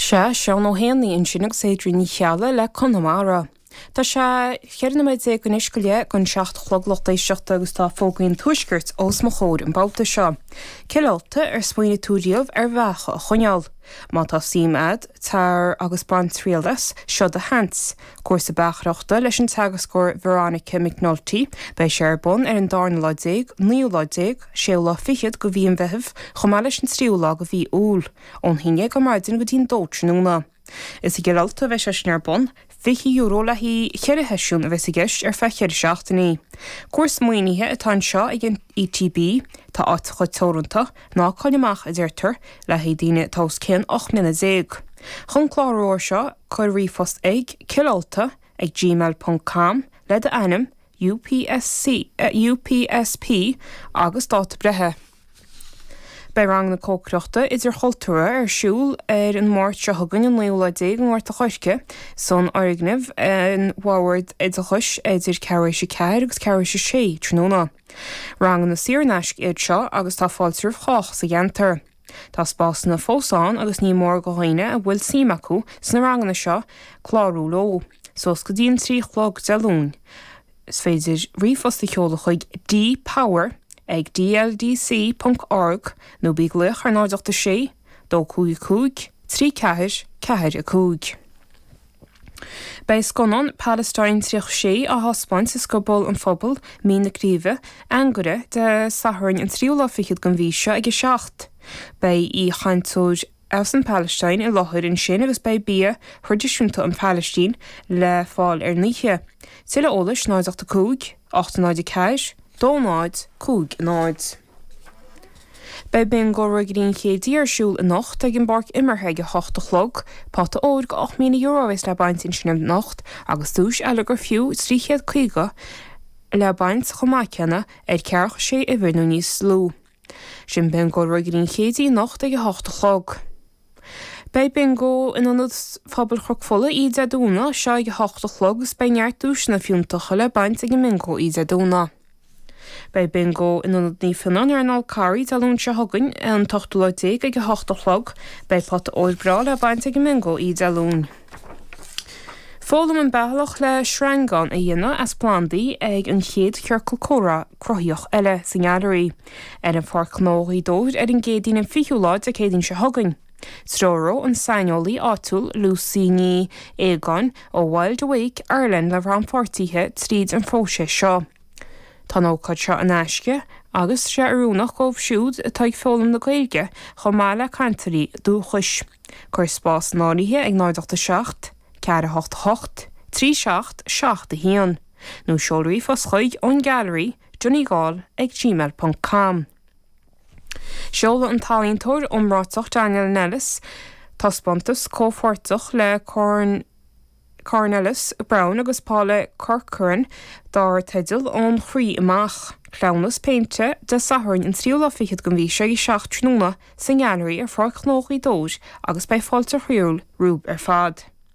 Sea, Seán Ó hÉanaí ansin agus Adrian Ní Cheallaigh le Conamara. Tá sé 14 nóiméad anois go leith don 7 a chlog lucht éisteachta agus tá fógraí an Tuaiscirt os mo chomhair an babhta seo. Cill Ulta, ar smaoinigh tú riamh ar bheacha a choinneáil? Má tá suim a'd, tar agus bain triail as, seo do sheans. Cúrsa beachaireachta leis an teagascóir Veronica McNulty. Beidh sé ar bun ar an darna lá déag, naoú lá déag, séú lá fichead de mhí an Mheithimh chomh maith leis an tríú lá de mhí Iúil, ón haon dhéag ar maidin go dtí'n dó tráthnóna. Is i gCill Ulta a bheidh sé sin ar bun. €20 le haghaidh cheithre sheisiún a bheas i gceist ar feadh cheithre seachtainí. Cúrsa maoinithe atá anseo ag an ETB. Tá áiteacha teoranta, ná caill amach, a deirtear, le haghaidh daoine atá os cionn 18 mbliana. Chun clárú air seo, cuir ríomhphost ag, cillulta ag gmail ponc com le d'ainm, UPSC, UPSP agus dáta breithe. Beidh ranganna cócaireachta idirchultúrtha ar siúl ar an Máirt seo chugainn an naoú lá déag i nGort a' Choirce san fhoirgneamh an Bhoird Oideachais idir ceathrú éis a ceathair agus ceathrú éis a sé tráthnóna. Ranganna saor in aisce iad seo agus tá fáilte roimh chách sa gceantar. Tá spásanna fós ann agus ní mór do dhaoine a bhfuil suim acu sna ranganna seo clárú leo, suas go dtí an 3 a chlog Dé Luain. Is féidir ríomhphost a sheoladh chuig dpower ag dldc ponc org nó bí ag glaoch ar 0 8 6 2 5 5 3 4 4 5. Beidh scannán Palestine 36 á thaispeáint i Scioból an Phobail, Mín na Craoibhe, Anagaire, Dé Sathairn an tríú lá fichead den mhí seo ag 7. Beidh aoichainteoir as an Phalaistín i láthair ansin agus beidh bia thraidisiúnta an Phalaistín le fáil ar an oíche. Tuilleadh eolais 0 8 5 8 0 4 2 0 5 0. Beidh Bingo Ruagairí an Chéidí ar siúl anocht ag an bpáirc imeartha ag 8 a chlog. Pota óir go €8,000 a bheas le baint ansin anocht agus duais eile gur fiú 350 le baint chomh maith céanna ar ceathracha sé uimhir nó níos lú. Sin Bingo Ruagairí an Chéidí anocht ag 8 a chlog. Beidh Bingo in Ionad Phobail Chnoc Fola oíche Dé Domhnaigh seo ag 8 a chlog agus beidh neart duaiseanna fiúntacha le baint ag an mBingo oíche Dé Domhnaigh. Beidh Bingo in Ionad Naomh Fionán ar an Fhál Carraigh Dé Luain seo chugainn, an t-ochtú lá déag ag 8 a chlog. Beidh pota óir breá le baint ag an mBingo oíche Dé Luain. Foghlaim an bealach le sreangán a dhéanamh as plandaí ag an chéad Chiorcal Comhrá Cruthaitheach eile sa nGailearaí ar an Pháirc Ghnó Ghaoth Dobhair ar an gCéadaoin an 20ú lá Dé Céadaoin seo chugainn. Treoróidh an saineolaí áitiúil Lucy Ní Aogáin ó Wild Awake Ireland na rannpháirtithe tríd an phróiseas seo. Tá an ócáid seo in aisce agus tá sé oiriúnach dóibh siúd atá ag foghlaim na Gaeilge chomh maith le cainteoirí dúchais. Cuir spás in áirithe ag 0 8 7 4 8 8 3 7 7 1 nó seol ríomhphost chuig ón Gallery, Donegal ag gmail ponc com. Seolfaidh an t-ealaíontóir iomráiteach Daniel Nellis taispeántas comhpháirteach le Corn Cornelius Browne agus Paula Corcoran dar teideal Ón Chroí Amach, Cleamhnas Péinte, Dé Sathairn an tríú lá fichead den mhí seo ag 7 tráthnóna sa nGailearaí ar Pháirc Ghnó Ghaoth Dobhair agus beidh fáilte chroíúil romhaibh ar fad.